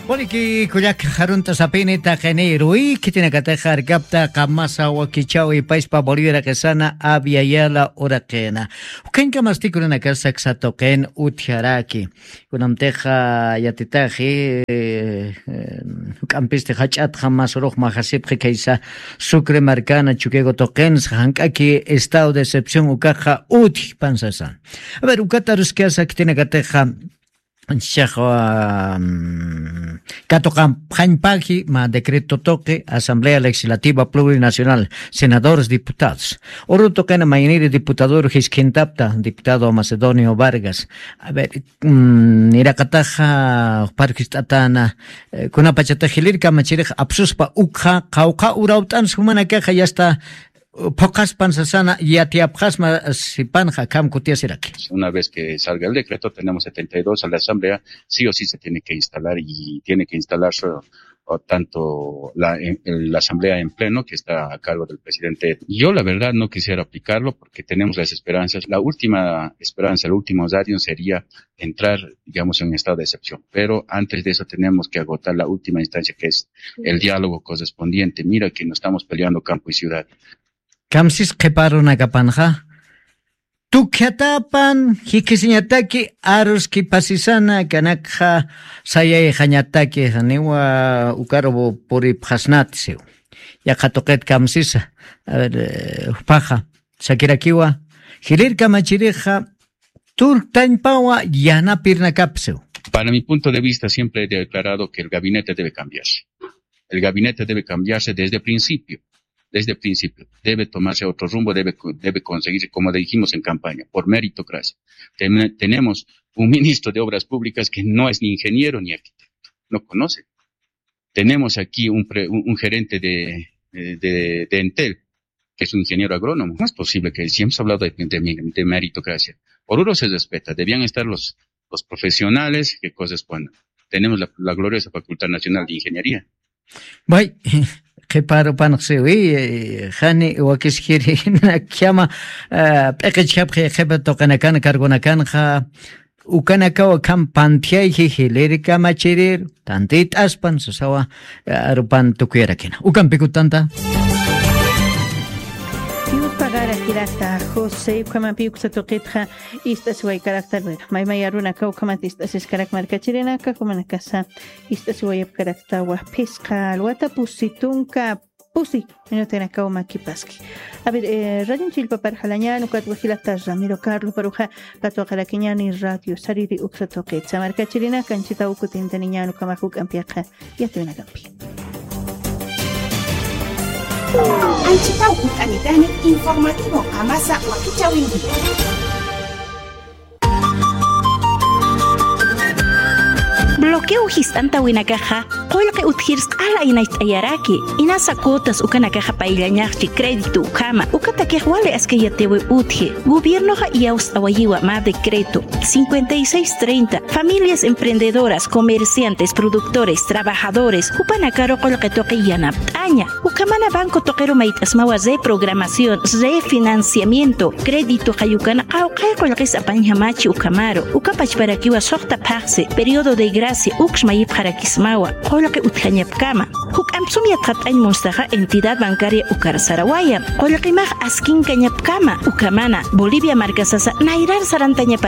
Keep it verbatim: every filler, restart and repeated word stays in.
Puriki kullak jarunt'asapini taqiniru, khitinakatix arkapta qamasa wakichawi payspa Bolivia raqisana Abya Yala uraqina. Ukañkamasti kunankasa ksatuqin utjaraki. Kunamtixa yatitaxi, eh, eh, juk'ampisti jach'atxa mas urux majasipxi khaysa Sucre markana Chuquigo tuqinsa, jank'aki estado de excepción ukaxa utjpan sasa. A ver, ukat aruskasa khitinakatixa, Chichax, mm, katuqapxañpaki mä decreto tuqi Asamblea Legislativa Plurinacional, senadores, diputados. Uru tuqina mayniri diputador jiskhintapta, diputado Macedonio Vargas. A ver, mm, niraqataxa, jupar jist'atana, eh, kunapachatix jilïr kamachirix apsuspa ukxa, qawqha urawt'ans jumanakaxa ya está, phuqhaspan sasana, yatiyapxasma sipanxa, akham kutiyasiraki. Una vez que salga el decreto, tenemos setenta y dos a la Asamblea, sí o sí se tiene que instalar y tiene que instalarse, o tanto la, en, en la Asamblea en pleno, que está a cargo del presidente. Yo, la verdad, no quisiera aplicarlo porque tenemos las esperanzas. La última esperanza, el último radio sería entrar, digamos, en un estado de excepción. Pero antes de eso tenemos que agotar la última instancia, que es el diálogo correspondiente. Mira que nos estamos peleando campo y ciudad. Kamsis qhiparunakapanxa, tukjatapan jikisiñataki aruskipasisana kanakxa sayayxañataki, janiwa ukaru puripxasnati siw. Yaqha tuqit kamsisa, a ver, eh, jupaxa, sakirakiwa, jilïr kamachirixa, turktañpawa yanapirnakapsiw. Para mi punto de vista, siempre he declarado que el gabinete debe cambiarse. El gabinete debe cambiarse desde el principio, desde el principio. Debe tomarse otro rumbo, debe, debe conseguirse, como dijimos en campaña, por meritocracia. Ten-, tenemos un ministro de Obras Públicas que no es ni ingeniero ni arquitecto, no conoce. Tenemos aquí un pre-, un, un gerente de, de, de, de Entel, que es un ingeniero agrónomo. No es posible que siempre se ha hablado de, de, de meritocracia. Oruro se respeta, debían estar los, los profesionales que correspondan. Tenemos la, la gloriosa Facultad Nacional de Ingeniería. Bay, qhiparupanxsiwi, eh, jani wakiskiri nakhama, eh, p'iqichkapxi qhipa tuqinakan, cargonakanxa, ukanakaw akham pantjayji jilïr kamachirir, tantit'aspan sasawa, eh, arupan tukuyarakina. Ukampikutanta. Yupagarakirakta, José, ukhamampi uksa tuqitxa, ist'asiwaykarakta, bueno, maymay arunakaw ukhamat ist'asiskarak markachirinaka, jumanakasa, ist'asiwayapkaraktawa, phisqa alwata pusi tunka, pusi, minutinakaw makipaski. A ver, eh, radioñ chillpapar jalañan, ukat wajilata Ramiro Carlos paruxa, katwaqarakiñani radio sariri uksa tuqitsa. Markachirinaka, anchitaw kutintaniñan, ukhamax juk'ampixa, yatiyunakampi. Anchitaw kut'anitani informativo qamasa wakichäwinki. Bloqueo jist'antawinakaxa, qullqi utjirs q'ala aynacht'ayaraki, inasa cuotas ukanakaxa payllañaxchi crédito ukhama, ukatakix wali askay yatiwi utji, gobiernoxa iyawst'awayiwa mä decreto cincuenta y seis treinta, familias emprendedoras, comerciantes, productores, trabajadores, jupanakaru qullqi tuqi yanapt'aña. Ukhamana banco tuqiru mayt'asmawa reprogramación, refinanciamiento, crédito qayukana qawqhay qullqis apañjamachi ukhamaru, uka pachparakiwa suxta phaxsi, periodo de gracia, uks mayipxarakismawa, qullqi utjañapkama. Juk'amp sum yatxat'añ munstaxa entidad bancaria ukar sarawaya, qullqimax askinkañapkama, ukhamana, Bolivia markasasa nayrar sarantañapa